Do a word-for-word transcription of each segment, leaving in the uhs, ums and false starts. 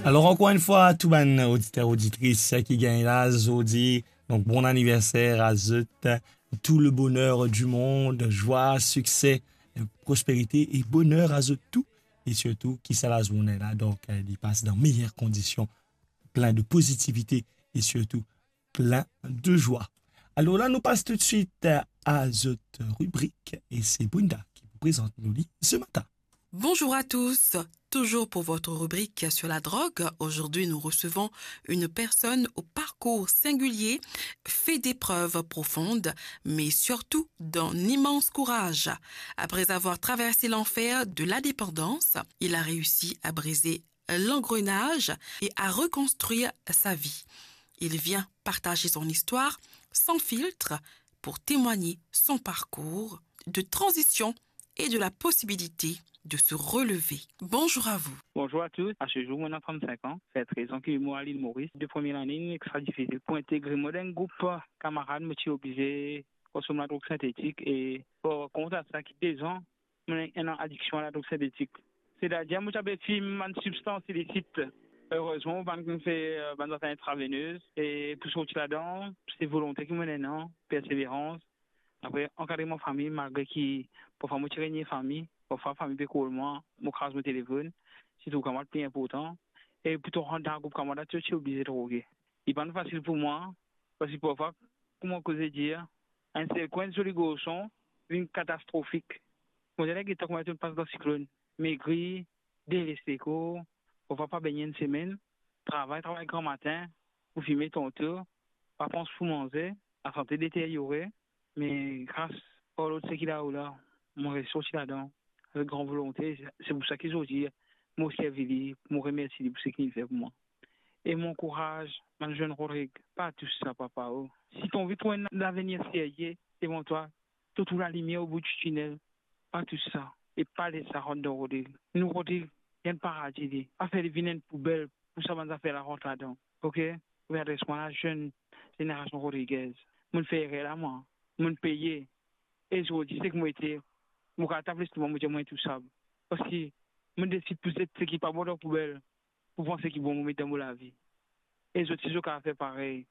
Alors, encore une fois, tou bann oditer, oditris ki gagn la zordi, donc bon anniversaire à zot, tout le bonheur du monde, joie, succès, prospérité et bonheur à zot tout, et surtout ki sa lazourne la, donc, euh, li pas dans meilleures conditions, plein de positivité et surtout plein de joie. Alors là, nous passe tout de suite à zot ribrik, et c'est Brenda qui vous présente nou li ce matin. Bonjour à tous. Toujours pour votre rubrique sur la drogue, aujourd'hui nous recevons une personne au parcours singulier, fait d'épreuves profondes, mais surtout d'un immense courage. Après avoir traversé l'enfer de la dépendance, il a réussi à briser l'engrenage et à reconstruire sa vie. Il vient partager son histoire sans filtre pour témoigner son parcours de transition et de la possibilité de se relever. Bonjour à vous. Bonjour à tous. À ce jour, moi, j'ai trente-cinq ans. Ça fait treize ans que moi, à l'île Maurice. De première année, extra difficile. Pour intégrer, moi, dans un groupe, camarade, moi, je suis obligé de consommer la drogue synthétique. Et pour compte à ça, qui deux ans, mo ena adiksion a ladrog sintetik. Setadir, mo ti pe fim bann sibstans ilisit. Erezman, mo pa'nn fer, euh, bann zafer intravenez, e pou sorti ladan, se volonte ki mo ena, perseverans. Apre, ankadreman fami, malgre ki parfwa mo ti renie fami, parfwa fami pe kol mwa, mo kraz mo telefonn, sirtou kan mo pli inportan, e pou to rant dan group kamarad, to ti oblize droge. Li pa'nn fasil pou mwa, parski parfwa, kouma koze dir, enn sekwens zoli garson vinn katastrofik. Mo dir, get kouma to pas dan siklonn, megri, deles lekor, parfwa pa bengn enn semenn, travay, travay gramatin, pou fime tanto, pa pans pou manze, lasante deteryore, me gras par Bondie ki lao la, mo res sorti ladan, avek gran volonte, se pou sa ki zordi, mo servi li, mo remersi li pou seki li fer pou mwa. E mo ankouraz bann zenn Rodrig, pa tous sa, papa, o. Si to anvi trouv enn lavenir serye devan twa, to trouv lalimier o bout di tinel, pa tous sa, e pa les sa rant dan Rodrig. Nou Rodrig, li enn paradi li. Pa fer li vinn enn poubel pou sa bann zafer la rant ladan. Ok? Mo adres mwa lazenn zenerasion Rodriguez. Mo'nn fer erer la mwa. Mo'nn peye. E zordi, seki mo ete, mo kapav tap lestouma, mo dir mo intousab. Parski mo'nn desid pou zet seki pa bon dan poubel, pou pran seki bon mo met dan mo lavi. E zot si zot kapav fer parey.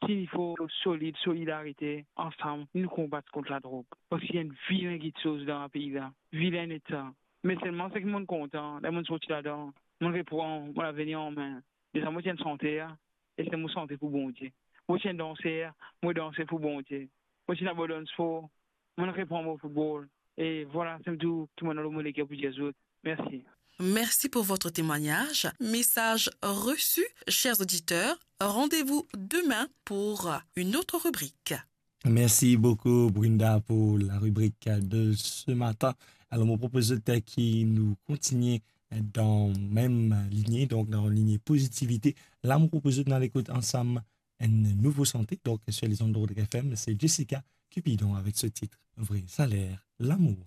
Si nou fer solid, solidarite, ansam, nou konbat kont ladrog. Parski enn vilen kitsoz dan lapei la. Vilen eta. Me selman seki mo'nn kontan, ler mo'nn sorti ladan, mo'nn repran mo lavenir an me. Deza mo ti enn santer, e se mo sante pou Bondie. Mo ti enn danser, mo danse pou Bondie. Mo ti ena abandonn spor, mo'nn repran mo foutbol. E vwala, se tou ki mo'nn ena lor mo leker pou dir zot. Mersi. Merci pour votre témoignage. Message reçu, chers auditeurs. Rendez-vous demain pour une autre rubrique. Merci beaucoup, Brenda, pour la rubrique de ce matin. Alors, mo propoz zot ki nou kontigne dan mem linie, donc dan linie pozitivite. La, mo propoz zot nou al ekout ansam enn nouvo sante, donc sur les ondes de Rodriguez F M, c'est Jessica Cupidon avec ce titre, Vrai salaire, l'amour.